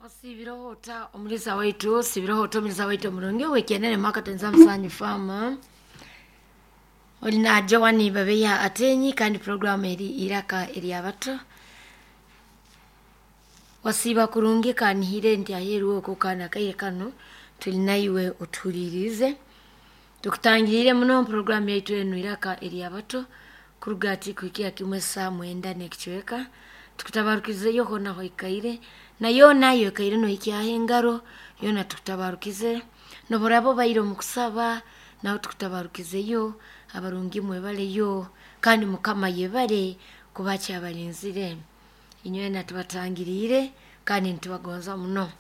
Osiibireho ota omulisa waitu, osiibireho ota omulisa waitu omurungi ow'ekyenene mwakatonza musanyu faama oli na Joan Babeya Atenyi kandi programu eri iraka eryabato. Wasiiba kurungi kanihire nti aheeru okwo kana akaire kanu tuli naiwe otuhuliriize. Tukutangiriire muno programu yaitu enu iraka eryabato kuruga ati kuhikira kimu esaa mwenda n'ekicweka. Tukutabarukizeyo hoona hoikaire na yoona yoikaire nohikyaho engaro yoona tukutabarukize. Nobu oraaba obaire omu kusaba nawe tukutabarukizeyo. Abarungi mwebaleyo kandi Mukama yebale kuba akyabalinzire. Inywena tubatangiriire kandi nitubagonza muno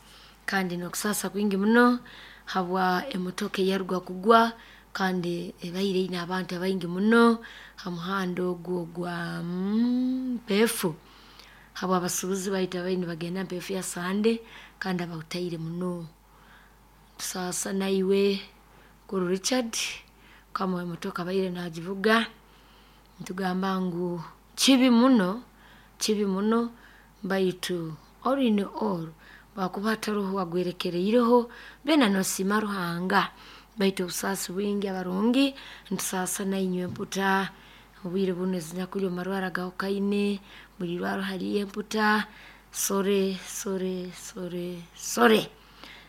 kandi n'okusaasa kwingi muno habwa emotoka eyaruga kugwa kandi ebaire eine abantu abaingi muno ha muhanda ogu ogwa Mpeefu habw'abasuubuzi baitu abaire nibagenda Mpeefu ya Sande kandi abahutaire muno. Tusaasa naiwe Mukuru Richard mukama w'emotoka abaire naagivuga nitugamba ngu kibi muno, kibi muno, baitu all in all bwakuba hataroho agwerekereireho byona noosiima Ruhanga, baitu obusaasi bwingi abarungi nitusaasa nainywe emputa obwire bunu ezinyakuli omu marwarro agahukaine, buli irwarro haliyo emputa, sore sore sore sore.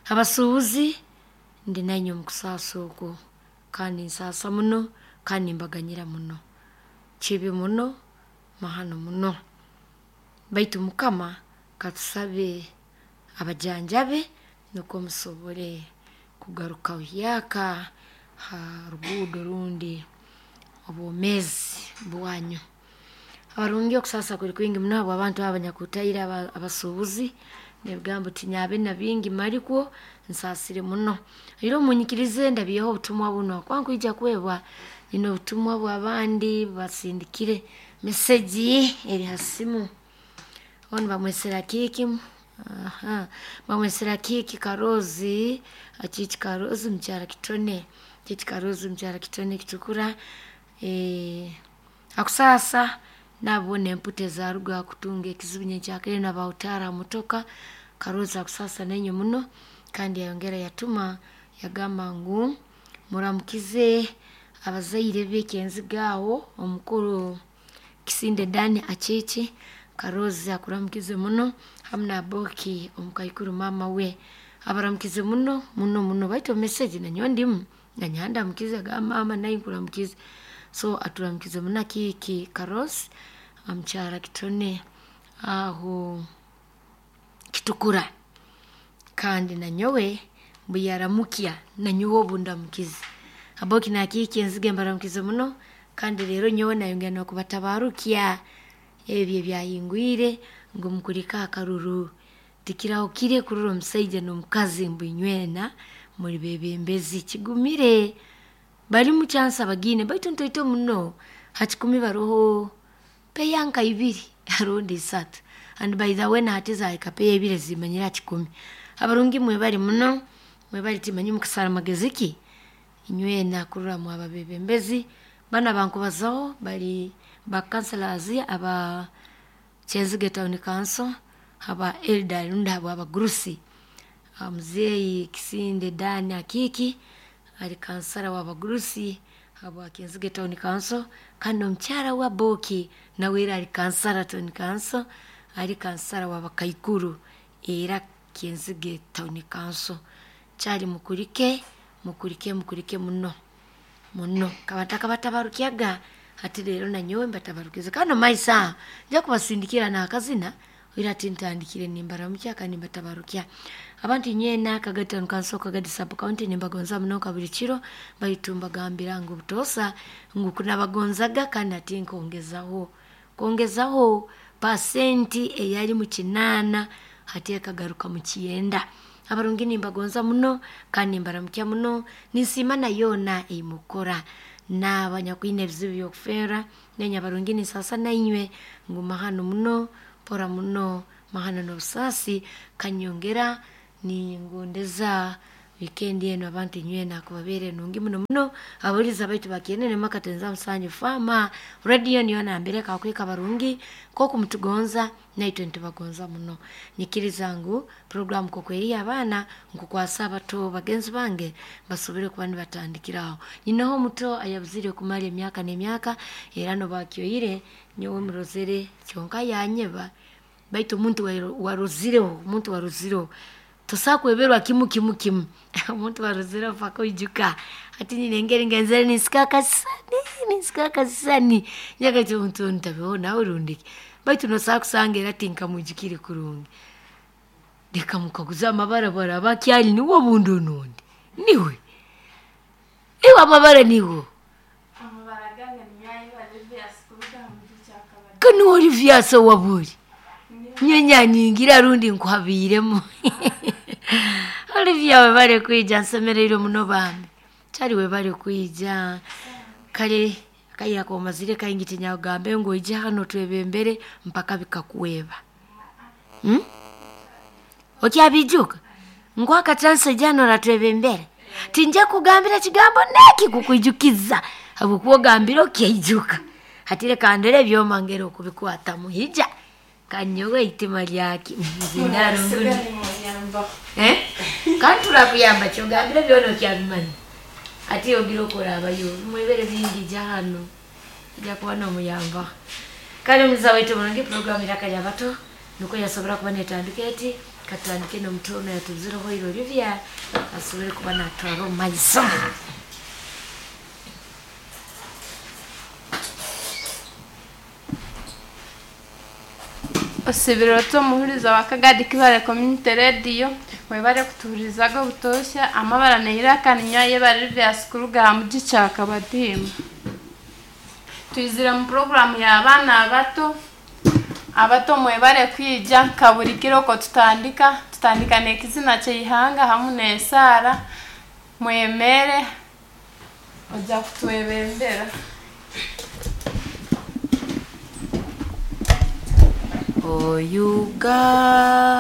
Abasuubuzi ndi nainywe omu kusaasa okwo kandi nsaasa muno kandi nimbaganyira muno. Kibi muno, mahano muno, baitu Mukama katusabe abajanjabe nukwo musobole kugaruka buhyaka ha ruguudo rundi obwomeezi bwanyu. Abarungi okusaasa kuli kwingi muno habw'abantu abo abanyakutaire abasuubuzi n'ebigambo tinyabe na bingi malikwo nsaasire muno. Era munyikirize ndabyeho obutumwa bunu habwokuba nkwija kwebwa nyine obutumwa bw'abandi basindikire meseji eri ha simu. Onu bamwesere Akiiki, bamwesere Akiiki Karoozi, Akiiki Karoozi mukyara Kitone, Akiiki Karoozi mukyara Kitone Kitukura, akusaasa nabo emputa ezaaruga kutunga ekizibu nyenkyakara enu abahutaara ha motoka, Karoozi akusaasa nainywe muno kandi yayongera yatuma yagamba ngu muramukize abazaire be Kyenziga aho omukuru Kisinde Dan Akiiki, Karoozi akuramukize muno hamu na Aboki omukaikuru maama we abaramukize muno muno muno, baitu omu meseji nanyowe ndimu nanyowe andamukize agamba maama naiwe nkuramukize. So aturamukize muno Akiiki Karoozi mukyara Kitone aho Kitukura kandi nanyowe mbuyaramukya nanyowe obu ndamukize. Aboki na Akiiki Enzige mbaramukize muno kandi leero nyowe nayongera n'okubatabarukya ebi ebyahingwire ngu mukulike akaruru. Tikirahukire kurora omusaija n'omukazi mbu inywena muli beebembezi, kigumire. Balimu chance abagiine baitu ntoito muno, ha kikumi baroho peya nka ibiri rundi isatu and by the way na hati zaahika peya ibiri ezimanyire ha kikumi. Abarungi mwebale muno, mwebale timanyi mukasara magezi ki inywena kurora mwaba beebembezi. Banu abankubazaho bali ba councillors aba Kyenzige Town Council, aba elder rundi habw'abagurusi, muzeeyi Kisinde Dan Akiiki ali kansara w'abagurusi habwa Kyenzige Town Council kandi n'omukyara we Aboki nawe era ali kansara Town Council, ali kansara w'abakaikuru era Kyenzige Town Council. Kyali mukulike, mukulike mukulike muno muno. Nkaba ntakabatabarukyaga hati leero nanyowe mbatabarukize kandi omumaiso aho nja kubasindikira n'akazina oira hati ntandikire nimbaramukya kandi nimbatabarukya. Abantu inywena Kagadi Town Council, Kagadi Sub County nimbagonza muno nka buli kiro baitu mbagambira ngu butoosa ngu kunabagonzaga kandi hati nkongezaho, kongezaho pasenti eyali mu kinaana hati ekagaruka mu kyenda. Abarungi nimbagonza muno kandi nimbaramukya muno, ninsiima na yoona ei mukukora n'abanyakwine ebizibu by'okufeera, nainywe abarungi ninsaasa nainywe ngu mahano muno, mpora muno, mahano n'obusaasi kanyongera ningondeza Wikendi eno abantu inywena kubabeere nungi muno muno. Abawuliriza baitu bakienene makatenza musanyu fama radio niyo nambere kakwika barungi koku mutugonza naitwe nitubagonza muno. Nyikiriza ngu programu kokweri abaana nkukwasa abato bagenzi bange basobole kuba nibatandikiraho. Nyinaho omuto ayabuzire kumara emyaka n'emyaka era nobakyoire nyowe murozere kyonka yanyeba baitu omuntu warozireho omuntu warozireho tosobola kweberwa kimu kimu kimu omuntu warozireho paka oijuka. Hati nyine engeri ngenzere ninsika akasisani ninsika akasisani nyagaiti omuntu onu ntabeho nawe rundi ki, baitu nosobola kusanga era tinkamwijukire kurungi. Leka mukaguze amabara bwaraba akyali niwe obundi onundi niwe iwe amabara nigo. Amabara gange ninyayiba Livias kuruga ha muji Kyakabadi. Kanu Olivias owabuli nyenyanyingira rundi nkuhabiiremu. Olivia webale kwija nsemereirwe muno bambi kyali webale kwija. Kale akaira komazire kaingi tinyakugambe ngu oije hanu otwebembere mpaka bikakweba. Okyabiijuka? Nkuha akachansi oije hanu oratwebembera. Tinja kugambira ekigambo neki kukwijukiza habwokuba ogambire okyaijuka. Hati leka ndore ebyoma ngeri okubikwatamu hija kanyowe eitima lyaki nzindaro ngunu. Kandi turakuyamba kyogambire byona okyabimanya. Hati ogira okorabayo mwebere bingi ija hanu ija kuba nomuyambaho. Kale omuza waitu omurungi programu Iraka ly'Abato nikwo yasobora kuba netandika eti katutandike n'omuto ono yatubuzireho ira Olivia asobole kuba natwara omu maiso. Osibire ota omuhuriza wa Kagadi Kibale Community Radio webale kutuhurizaga obutosha amabara neiraka ninyayeba Livias kuruga ha muji Kyakabadima. Twizire mu programu y'abaana abato. Abato mwebale kwija nka buri kiro oko tutandika tutandika n'ekizina ky'eihanga hamu n'esaara mwemere ojja kutwebembera. O Uganda.